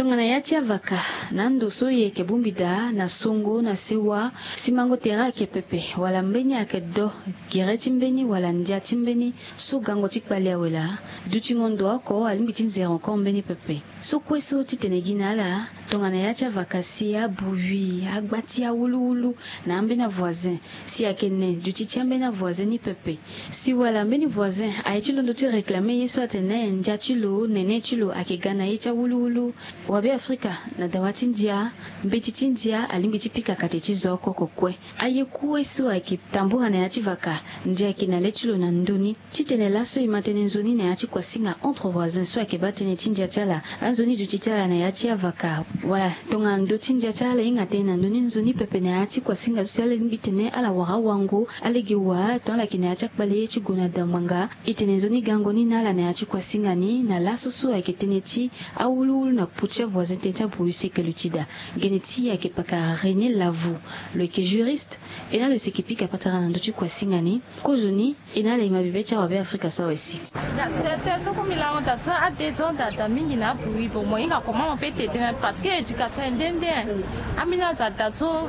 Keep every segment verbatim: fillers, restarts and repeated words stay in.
Tongana ya ti avaka na ando so e yeke bongbi daa na songo na sewa, simango tere ayeke pepe wala mbeni ayeke do gere ti mbeni wala ndia ti mbeni so gango ti kpale awe laa. Dutingo ndo oko alingbi ti nzere encore mbeni pepe. So kue so titene gi na ala tongana ya ti avaka si abruit agba ti awuluwulu na ambeni avoisin si ayeke ne duti ti ambeni avoisin ni pepe. Si wala mbeni voisin aye ti londo ti réclamer ye so atene ndia ti lo nene ti lo ayeke ga na ye ti awuluwulu. Wabe afrika na dawa ti ndia, mbeti ti ndia alingbi ti pika kate ti zo oko kokue. Aye kue so ayeke tambura na ya ti vaka ndia ayeke na le ti lo na ndö ni. Titene laso e ma tënë nzoni na ya ti kuasinga entre voisins so ayeke baa tënë ti ndia ti ala, anzoni duti ti ala na ya ti avaka wala tongana ndö ti ndia ti ala e hinga tënë na ndö ni nzoni pepe na ya ti kuasinga so si ala lingbi tene ala wara awango alege wa tongana ala yeke na ya ti akpale ti gue na damanga. E tene nzoni gango ni na ala na ya ti kuasinga ni na laso so ayeke tënë ti awuluwulu na potu ti avoisin tënë ti abruit si e yeke luti daa. Gene ti e ayeke pakara René Lavou. Lo yeke juriste. E na lo si e yeke pika patara na ndö ti kuasinga ni. Kozo ni e na ala e ma bibe ti awabe afrika so awe si. Tete so kue mbi lango daa so a deux ans daa daa mingi na abruit. Bon, mo hinga comment mo peut tete na parce que éducation e nde nde. Ambeni azo adaa so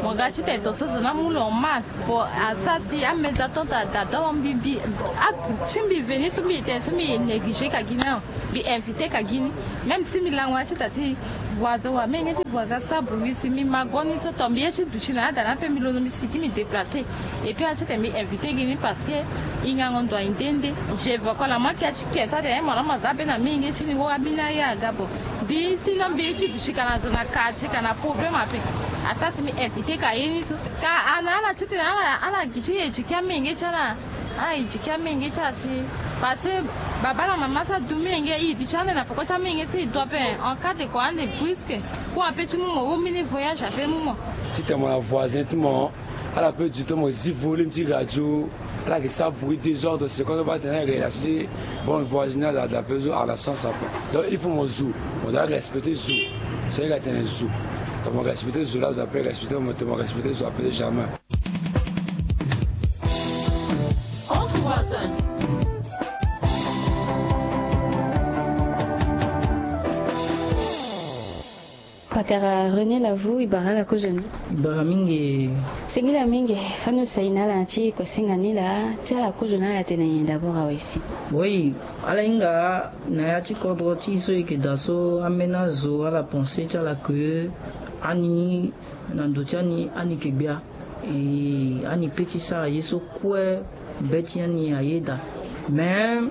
mo ga ti tene to so zo ni amu lo en mal. Bon, asara si ameza ton daa daa don mbi mbi a ti mbi veni so mbi tene so mbi négligé ka gi ni. Mbi invité ka gi ni. Même si mbi lango ya ti daa si voisin wa menge ti voisin asara bruit si mbi ma go ni so to mbi ye ti duti na ada na ape mbi londo mbi sigi mbi déplacé. Et puis ya ti tene mbi invité gi ni parce que hingango ndo aye nde nde. J'évoque la manque ya ti ke so atene mo na mo za be na menge ti ni wo ambeni aye aga bon. Mbi sinon mbi ye ti duti ka na zo na quartier ka na problème ape. Asara si mbi invité ka ye ni so ka ana ala ti tene ala ala gi ti éduquer amenge ti ala. Ala éduquer amenge ti ala si parce que baba na mama so adu menge e du ti ande na peko ti amenge so e du ape. En cas de ko ande brusque. Kue ape ti mu mo wo mbeni voyage ape mu mo. Titene mo na voisin ti mo ala peut du to mo zi volume ti radio. Ala yeke sara bruit désordre seconde baa tene ala yeke relâché. Bon voisinage ada ape zo ala sens ape. Donc il faut mo zo mo doit respecter zo. So e ga tene zo. Donc mo respecter zo laa zo ape respecter mo te mo respecter zo ape jamais. Entre voisins. Pakara René Lavou e bara ala kozo ni. E bara mingi. Singila mingi. Fani osai na ala na ti kuasinga ni laa ti ala kozo na ala tene nyen d'abord awe si. Oui. Ala hinga na ya ti kodro ti e so e yeke daa so ambeni azo ala pensé ti ala ke ani na ndo ti ani ani yeke gbia. E ani pe ti sara ye so kue be ti ani ayeda. Mais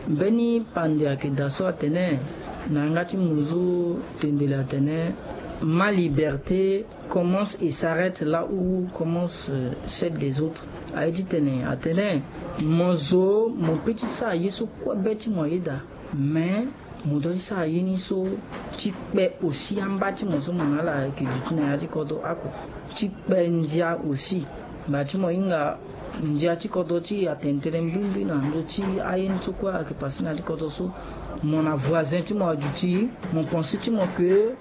mbeni pande ayeke daa so atene na yanga ti mo zo tendele atene ma liberté commence et s'arrête là où commence celle des autres. Aye ti tene atene mo zo mo pe ti sara ye so kue be ti mo ayeda. Mais mo doit ti sara ye ni so ti kpe aussi amba ti mo so mo na ala yeke duti na ya ti kodro oko ti kpe ndia aussi. Ngba ti mo hinga ndia ti kodro ti e atene tënë mbrimbri na ndö ti aye ni so kue ayeke passé na ya ti kodro so. Mo na voisin ti mo aduti mo pensé ti mo ke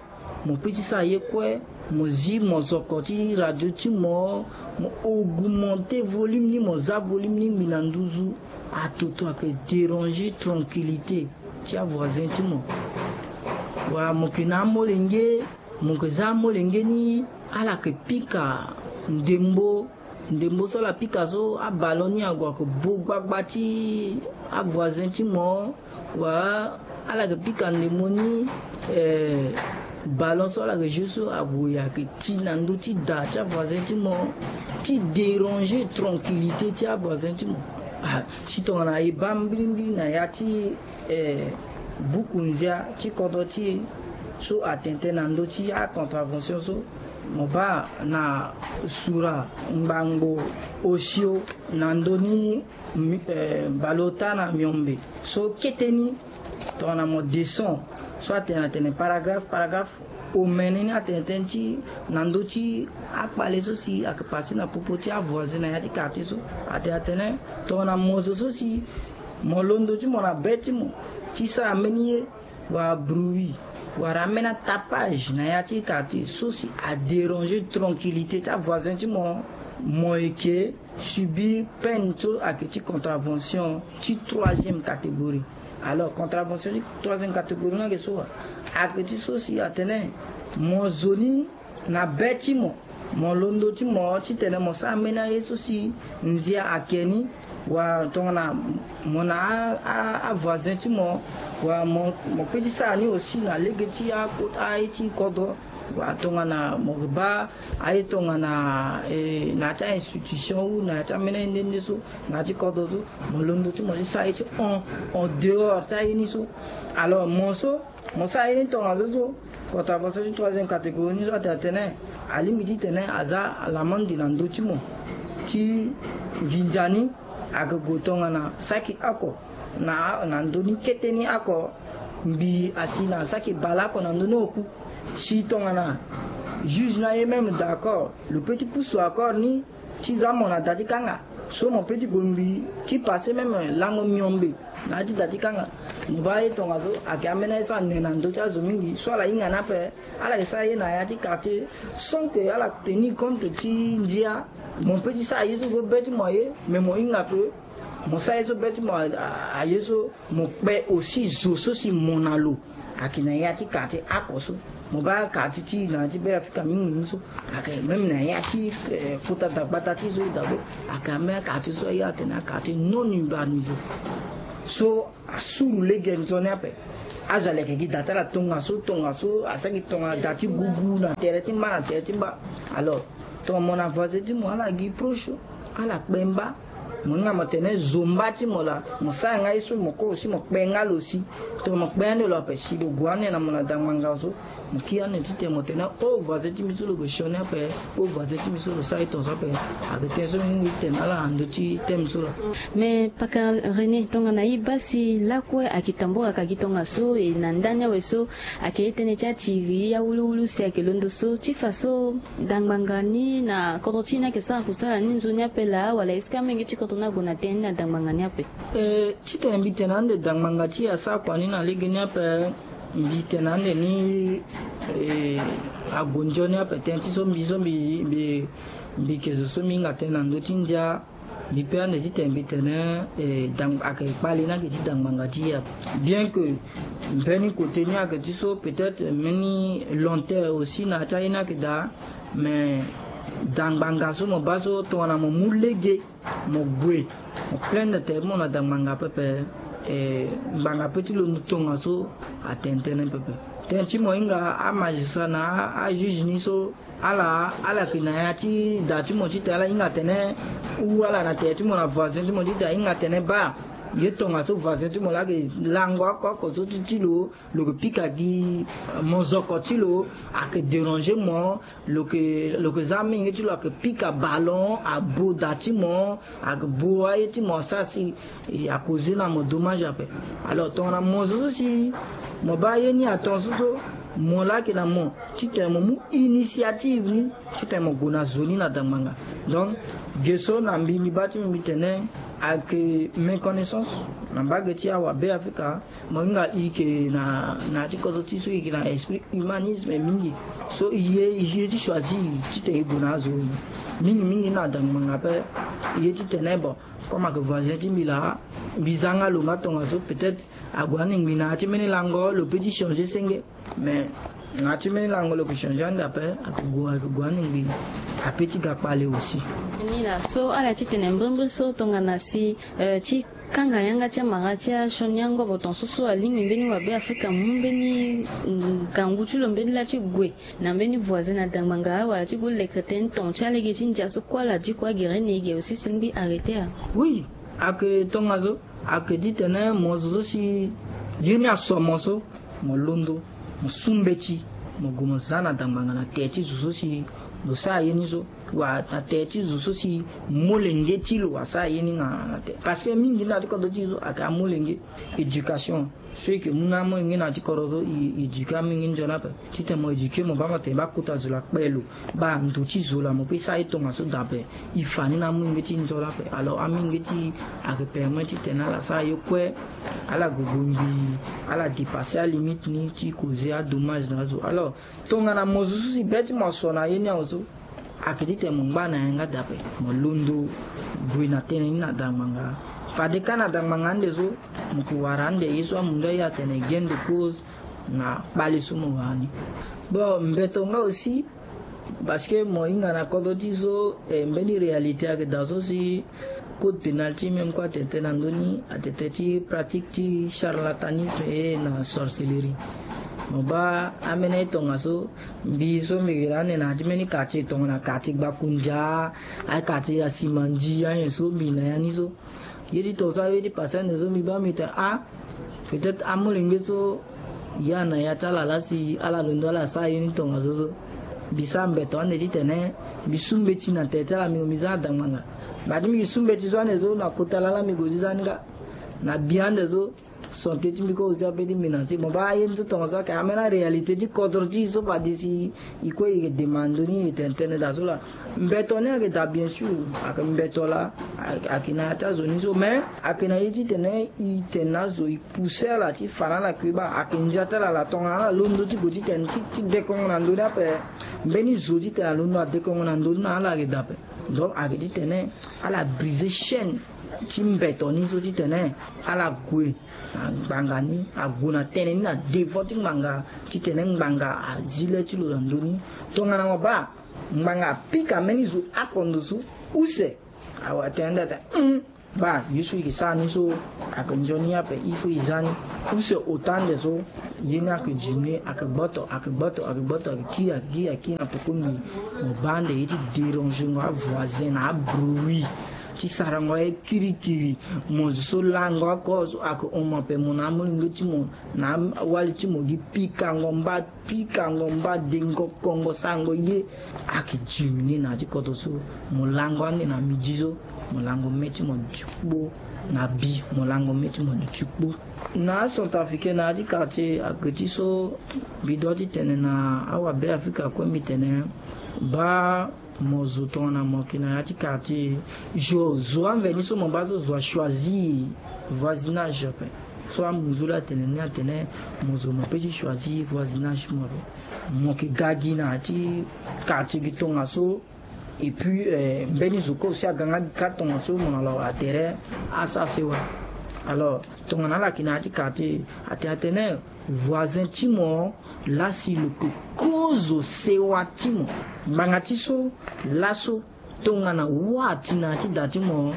mo pe ti sara ye kue. Mo zi mozoko ti radio ti mo mo augmenté volume ni mo za volume ni ngbi na nduzu. Atoto ayeke dérangé tranquillité ti avoisin ti mo. Wala mo yeke na amolenge mo yeke za amolenge ni ala yeke pika ndembo. Ndembo so ala pika so aballon ni ague ayeke bo gbagba ti avoisin ti mo. Wala ala yeke pika ndembo ni eh, ballon so ala yeke jeu so ague ayeke ti na ndö ti da ti avoisin ti mo ti dérangé tranquillité ti avoisin ti mo. Ah, si tongana e baa mbirimbiri na ya ti eh, buku ndia ti kodro ti e so atene tënë na ndö ti acontravention so mo baa na sura ngbangbo osio na ndö ni eh, baleota na miombe so kete ni. Tongana mo descend so atene atene paragraphe paragraphe omene ni atene tënë ti na ndö ti akpale so si ayeke passé na popo ti avoisin na ya ti quartier so. Atene atene tongana mo zo so si mo londo ti mo na be ti mo ti sara mbeni ye wala bruit wala ambeni atapage na ya ti quartier so si adérangé tranquillité ti avoisin ti mo. Mo yeke subir peine so ayeke ti contravention ti troisième catégorie. Alors contravention ti troisième catégorie ni ayeke so wa Ayeke ti so si atene mo zo ni na be ti mo, mo londo ti mo titene mo sara mbeni aye so si ndia ayeke ni, wala tongana mo na avoisin ti mo, wala mo pe ti sara ni aussi na lege ti aye ti kodro, wala tongana mo baa aye tongana na ya ti a-institution ou na ya ti ambeni aye nde nde so na ya ti kodro so, mo londo ti mo ti sara ye ti hon en dehors ti aye ni so. Alors mo so mo sara ye ni tongaso so, kota façon ti troisième catégorie ni so ate atene alingbi titene aza lamandi na ndö ti mo ti nginza ni. Ayeke gue tongana saki oko na ndö ni kete ni oko, mbi asi na saki baleoko na ndö ni oku. Si tongana juge ni aye même d'accord, lo pe ti pusu accord ni ti za mo na da ti kanga. So mo pe ti gue ngbii ti passer même lango miombe na ya ti da ti kanga. Mo baa aye tongaso ayeke ambeni aye so ane na ndö ti azo mingi so ala hinga ni ape. Ala yeke sara ye na ya ti quartier sans que ala tenir compte ti ndia. Mo pe ti sara ye so be ti mo aye, mais mo hinga que mo sara ye so be ti mo aye so, mo kpe aussi zo so si mo na lo ayeke na ya ti quartier oko so. Mo baa quartier ti na ya ti Bêafrika mingi ni so ayeke même na ya ti kota dagbata ti so e daa be, ayeke ambeni quartier so aye atene quartier non urbanisé. So asuru lege nzoni ape. Azo aleke gi da ti ala tongaso tongaso, asara gi tongana da ti gugu na tere ti mba na tere ti mba. Alors tongana mo na voisin ti mo, ala gi proche, ala kpe mba. Mo hinga mo tene zo mba ti mo laa, mo sara nga ye so mo kue aussi mo kpe nga lo si. Tongana mo kpe ande lo ape si lo gue ande na mo na dangbanga so, mo kiri ande titene mo tene o voisin ti mbi so lo gue sioni ape. O voisin ti mbi so lo sara ye tongaso ape. Ayeke tënë so mbi mu tene na ala na ndö ti thème so laa. Mais paka René, tongana e baa si lakue ayeke tambula ka gi tongaso, e na ndani awe so ayeke ye tënë ti atiri awuluwulu si ayeke londo so ti fa so dangbanga ni na kodro ti e ni ayeke sara kusala ni nzoni ape laa, wala est-ce que amenge ti kodro ni ague na tënë ni na dangbanga ni ape? Eh, titene mbi tene ande dangbanga ti e asara kua ni na lege ni ape, mbi tene ande ni, eh, ague nzoni ape. Tënë ti so mbi so mbi mbi mbi yeke zo so mbi hinga tënë na ndö ti ndia. Mbi pe ande titene mbi tene, eh, ayeke kpale ni ayeke ti dangbanga ti e ape. Bien que mbeni côté ni ayeke ti so peut-être mbeni lenteur aussi na ya ti aye ni ayeke daa. Mais dangbanga so mo baa so tongana mo mu lege mo gue mo plaindre tere ti mo na dangbanga pepe, eh, ngbanga pe ti londo tongaso atene tënë pepe. Tënë ti mo hinga amagistrat na ajuge ni so, ala ala yeke na ya ti da ti mo titene ala hinga atene, ou ala na tere ti mo na voisin ti mo titene ahinga atene baa ye tongaso voisin ti mo laa ayeke lango oko oko so ti ti lo, lo yeke pika gi mozoko ti lo, ayeke déranger mo, lo yeke lo yeke za amenge ti lo ayeke pika ballon abo da ti mo, ayeke bo aye ti mo asara si e, a causer na mo dommage ape. Alors tongana mo zo so si mo baa ye ni atongaso so, mo laa ayeke na mo titene mo mu initiative ni titene mo gue na zo ni na dangbanga. Donc ge so na mbi mbi baa ti mbi mbi tene ayeke méconnaissance na mbage ti awa Bêafrika. Mo hinga e yeke na na ya ti kodro ti so e yeke na esprit humanisme mingi. So e ye e ye ti choisir titene e gue na azo mingi mingi na dangbanga ape. E ye titene bon, comme ayeke voisin ti mbi laa, mbi za nga lo nga tongaso, peut-être ague ande ngbii na ya ti mbeni lango lo pe ti changer senge. Mais na ya ti mbeni lango lo yeke changer ande ape, ayeke gue ayeke gue ande ngbii, ape ti ga kpale aussi. Ni laa so ala titene mbrimbri so tongana si, eh, ti kanga yanga ti amara ti asioni angobo tongaso so alingbi mbeni wa Bêafrika amu mbeni ngangu ti lo mbeni laa ti gue na mbeni voisin na dangbanga wala ti gue leke tënë ton ti alege ti ndia so kue ala di kue agere na e ge aussi si ngbii arrêter a. Oui, ayeke tongaso. Ayeke titene mo zo so si ye ni aso mo so, mo londo mo su mbeti, mo gue mo za na dangbanga na tere ti zo so si lo sara ye ni so, wala na tere ti zo so si molenge ti lo asara ye ni na na tere. Parce que mingi na ya ti kodro ti e so ayeke amolenge. Éducation so e yeke mu na amolenge na ya ti kodro so, e éduquer amolenge nzoni ape. Titene mo éduquer mo baa mo tene baa kota zo laa kpe lo, baa ndo ti zo laa mo pe sara ye tongaso daa ape. E fa ni na amolenge ti nzoni ape. Alors amolenge ti e ayeke permettre titene ala sara ye kue, ala gue gue ngbii, ala dépasser alimite ni ti causer adommage na azo. Alors tongana mo zo so si be ti mo aso na ye ni awe so, ayeke titene mo ngba na yanga daa ape. Mo londo gue na tënë ni na dangbanga. Fade kâ na dangbanga ande so mo ke wara ande ye so amundu aye atene gain de cause. na kpale so mo wara ni. Bon, mbeto nga aussi, parce que mo hinga na kodro ti so, eh, mbeni réalité ayeke daa so si code pénal ti même kue atene tënë na ndö ni, atene tënë ti pratique ti charlatanisme et na sorcellerie. Mo baa ambeni aye tongaso, mbi so mbi yeke na ande na ya ti mbeni quartier, tongana quartier Gbakundia, aye quartier ya Simandi, aye so mbi na ya ni so. Ye ti tongaso aye ti pase ande so mbi baa mbi tene ah, peut-être amolenge so ya na ya ti ala laa si ala londo ala sara ye ni tongaso so. Mbi sara mbeto ande titene mbi su mbeti na tere ti ala, mbi gue mbi za na da ngbanga. Bati mbi su mbeti so ande so na kota lala mbi gue ti za ni nga. Na bi ande so, santé ti mbi kue aussi ape ti menacé. Mo baa ye ni so tongaso ayeke ambeni aréalité ti kodro ti e so fade si e kue e yeke demande ni e tene tënë daa so laa. Mbeto ni ayeke daa bien sûr, ayeke mbeto laa, ayeke na ya ti azo ni so, mais ayeke na ye titene e tene na azo e pousser ala ti fa na ala kue baa ayeke ndia ti ala laa tongana ala londo ti gue ti tene ti, ti dekongo na ndö ni ape. Mbeni zo titene alondo adekongo na ndö ni na ala ayeke daa ape. Donc ayeke titene ala briser chaîne ti mbeto ni so titene ala gue na ngbanga ni, ague na tënë ni na devant ti ngbanga titene ngbanga azi le ti lo na ndö ni. Tongana mo baa ngbanga apika mbeni zo akondo so use, awe atene nda atene, hum, baa ye so e yeke sara ni so ayeke nzoni ape, il faut e za ni. Use ota ande so ye ni ayeke diminuer, ayeke gboto, ayeke gboto, ayeke gboto, ayeke kiri, ayeke kiri, ayeke kiri na poko mbi. Mo baa ande ye ti dérangengo avoisin na abruit ti sarango aye kirikiri. Mo zo so lango oko so ayeke hon mo ape, mo na amolenge ti mo na awali ti mo gi pikango mba, pikango mba, dengo kongo, sarango ye. Ayeke diminuer na ya ti kodro so. Mo lango ande na midi so, mo lango mê ti mo duti kpo. Na bi, mo lango mê ti mo duti kpo. Na acentrafricain na ya ti quartier ayeke ti so mbi doit ti tene na awabe afrika kue mbi tene, baa mo zo tongana mo yeke na ya ti quartier, zo, zo amveni so mo baa so zo achoisir voisinage ape. So amunzu laa atene ni atene mo zo mo peut ti choisir voisinage ti mo ape. Mo yeke ga gi na ya ti quartier gi tongaso. Et puis, eh, mbeni zo kue aussi aga nga gi kâ tongaso mo na lo atere asara sewa. Alors tongana ala yeke na ya ti quartier, atene atene voisin ti mo laa si lo yeke kozo sewa ti mo. Ngbanga ti so laso, tongana wâ ati na ya ti da ti mo,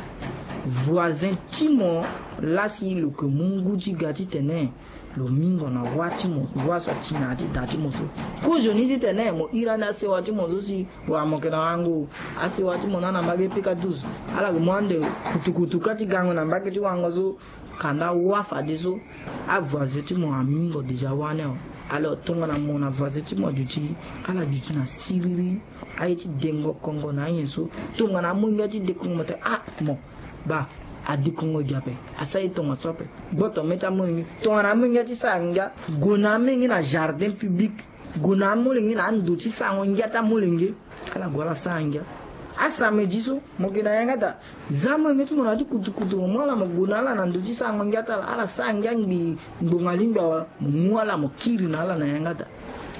voisin ti mo laa si lo yeke mu ngu ti ga titene lo mingo na wâ ti mo, wâ so ati na ya ti da ti mo so. Kozoni titene mo iri ande asewa ti mo so si wala mo yeke na wango, asewa ti mo na na mbage pika douze, ala yeke mu ande kutukutu kâ ti gango na mbage ti wango so. Kanda wâ fadeso, avoisin ti mo amingo déjà wâ ni awe. Alors tongana mo na voisin ti mo aduti, ala duti na siriri, aye ti dengo kongo na anyen so. Tongana amolenge ti dekongo mo tene ah mo, baa adekongo gi ape, asara ye tongaso ape. Gboto mê ti amolenge. Tongana amolenge ti sara ngia, gue na amolenge na jardin public, gue na amolenge na ando ti sarango ngia ti amolenge. Ala gue ala sara ngia. Asamedi so mo yeke na yanga daa, za amolenge ti mo na ya ti kutukutu, mo mu ala mo gue na ala na ndo ti sarango ngia ti ala. Ala sara ngia ngbii ngbonga lingbi awe, mo mu ala mo kiri na ala na yanga daa.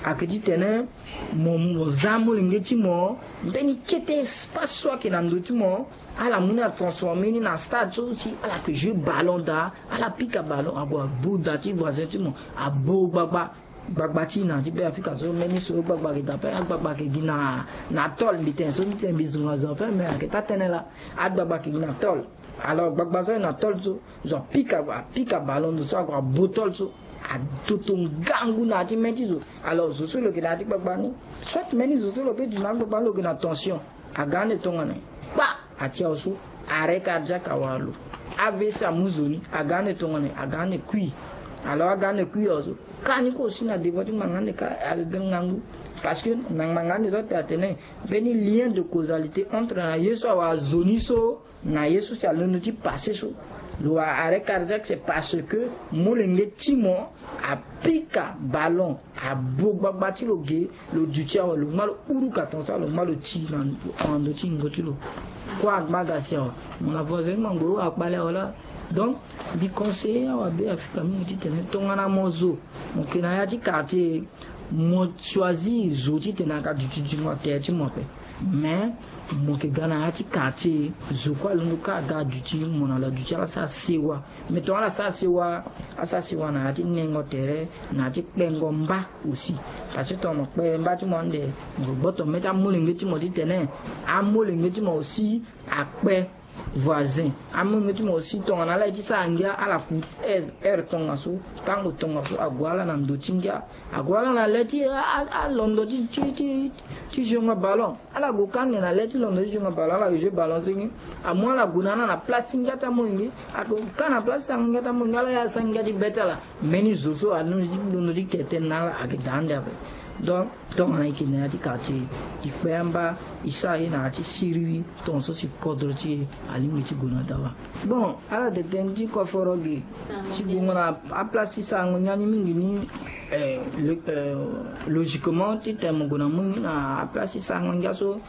Ayeke titene mo, mo za amolenge ti mo, mbeni kete espace so ayeke na ndo ti mo, ala mu ni atransformer ni na stade so si ala yeke jeu ballon daa. Ala pika ballon ague abo da ti voisin ti mo, abo gbagba. Gbagba ti e na ya ti Beafrika so, mbeni so gbagba ayeke daa ape, agbagba ayeke gi na, na tôle. Mbi tene so ti tene mbi zonga zo ape, mais ayeke taa tënë laa. Agbagba ayeke gi na tôle. Alors gbagba so ayeke na tôle so, zo apika, apika ballon ndo so ague abo tôle so, adoto ngangu na ya ti mê ti zo. Alors zo so lo yeke na ya ti gbagba ni, soit mbeni zo so lo peut duti na agbagba ni lo yeke na tension. Aga ande tongana e kpa, atia awe so, arrêt cardiaque awara lo. A V C amu zo ni. Aga ande tongana e, aga ande kui. Alors aga ande kui awe so, kâ ni kue aussi na devant ti ngbanga ande kâ ayeke ga ngangu. Parce que na ngbanga ande so atene atene mbeni lien de causalité entre na ye so awara zo ni so na ye so si alondo ti passé so. Lo wara arrêt cardiaque, c'est parce que molenge ti mo apika ballon, abo gbagba ti lo ge, lo duti awe, lo ngba lo huruka tongaso, lo ngba lo ti na ndo ti yingo ti lo. Kue angba ga si awe, mo na voisin ti mo angoro akpale awe laa. Donc mbi conseiller awabe Afrika mingi titene tongana mo zo mo yeke na ya ti quartier, mo choisir zo titene ayeke duti zingo na tere ti mo ape. Mais mo yeke ga na ya ti quartier, zo kue alondo kâ aga aduti, mo na lo aduti ala sara sewa. Mais tongana ala sara sewa, asara sewa na ya ti nengo tere, na ya ti kpengo mba aussi. Parce que tongana mo kpe mba ti mo ande, mo gboto mê ti amolenge ti mo titene amolenge ti mo aussi akpe voisin. Amolenge ti mo aussi tongana ala ye ti sara ngia, ala ku heure, heure tongaso, tango tongaso ague ala na ndo ti ngia. Ague ala na le ti a, a, alondo ti, ti, ti, ti jonga ballon. Ala gue kâ ande na le ti londo ti jonga ballon, ala jeu ballon senge. Amu ala gue na ala na place ti ngia ti amolenge. Ague kâ na place ti sara ngia ti amolenge, ala ye asara ngia ti be ti ala. Mbeni zo so alondo ti, londo ti ke tënë na ala ayeke daa ande ape. Donc tongana e yeke na ya ti quartier, e kpe amba, e sara ye na ya ti siriri, tongaso si kodro ti e alingbi ti gue na dawa. Bon, ala tene tënë ti koforo ge ti gue na aplace ti sarango ngia ni mingi ni, eh, lo-, eh, logiquement titene mo gue na mu ni na aplace ti sarango ngia so,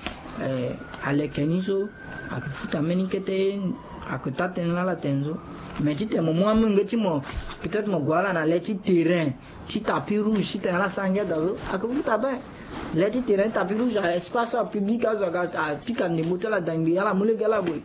eh, aleke ni so, ayeke futa mbeni kete, ayeke taa tënë laa ala tene so. Mais titene mo mu amolenge ti mo, peut-être mo gue ala na le ti terrain ti tapis rouge titene ala sara ngia daa so, ayeke futa ape. Le ti terrain ti tapis rouge, a espace so apublic azo aga apika ndembo ti ala dangbi, ala mu lege ala gue.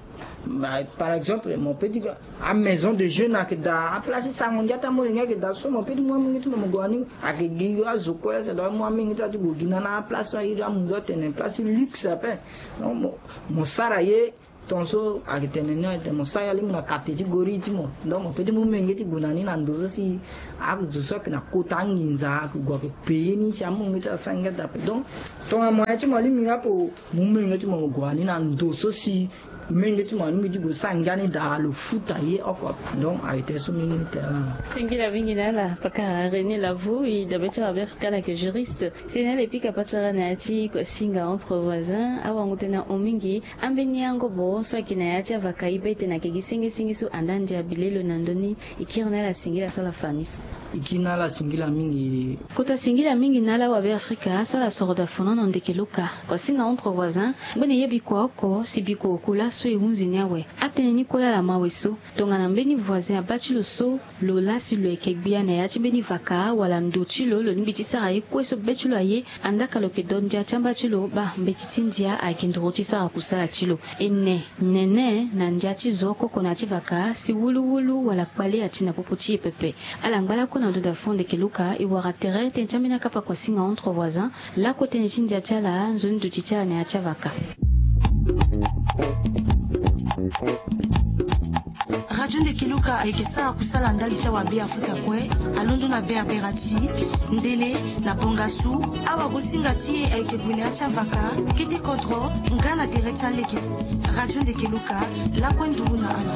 Bah, par exemple, mo peut ti, amaison de jeune ayeke daa, aplace ti sarango ngia ti amolenge ayeke daa so, mo peut ti mu amolenge ti mo mo gue na ni. Ayeke gi azo kue la, ça doit mu amolenge ti ala ti gue gi na ni na aplace so airi amunzu atene place ti luxe ape. Donc mo, mo sara ye, tongaso ayeke tene ni, ayeke tene mo sara ye alingbi na kate ti gori ti mo. Donc mo peut ti mu menge ti gue na ni na ndo so si azo so ayeke na kota anginza ayeke gue ayeke paye ni si amolenge ti ala sara ngia daa ape. Donc tongana moyen ti mo alingbi nga ape, mu menge ti mo mo gue na ni na ndo so si menge ti mo alingbi ti gue sara ngia ni daa, lo futa ye oko. Donc ayeke tene so menge ni tene. Singila mingi na ala pakara René Lavo, e dabe ti awa Beafrika na yeke juriste. Si na ala e pika patara na ya ti Kosinga entre voisins, awango tënë ahon mingi. Ambeni angobo so ayeke na ya ti avaka e be tene ayeke gi sengesenge so anda ndia bilelo na ndö ni. E kiri na ala singila so ala fa ni so. E kiri na ala singila mingi. Kota singila mingi na ala awa Beafrika so ala soro daa fonono ndeke lo ka. Kosinga entre voisins, ngbene ye bikua oko si bikua oku laso e hunzi ni awe. Atënë ni kue laa ala ma awe so. Tongana mbeni voisin abaa ti lo so, lo laa si lo yeke gbia na ya ti mbeni vaka wala ndo ti lo, lo lingbi ti sara ye kue so be ti lo aye. Andaa ka lo yeke do ndia ti amba ti lo, baa mbeti ti ndia ayeke nduru ti sara kusala ti lo. E ne nene na ndia ti zo oko oko na ya ti vaka si wuluwulu wala kpale ati na popo ti e pepe. Ala ngba lakue na ndo daa fo ndeke luka, e wara tere tënë ti ambeni akapa Kosinga entre voisins. Lakue tënë ti ndia ti ala, nzoni duti ti ala na ya ti avaka. Radio Ndeke Luka ayeke sara kusala ndali ti awa Beafrika kue, alondo na Berbera ti, Ndele, na Bangassou. Awagosinga ti e ayeke gue na ya ti avaka, kete kodro, nga na tere ti alege. Radio Ndeke Luka, lakue nduru na ala.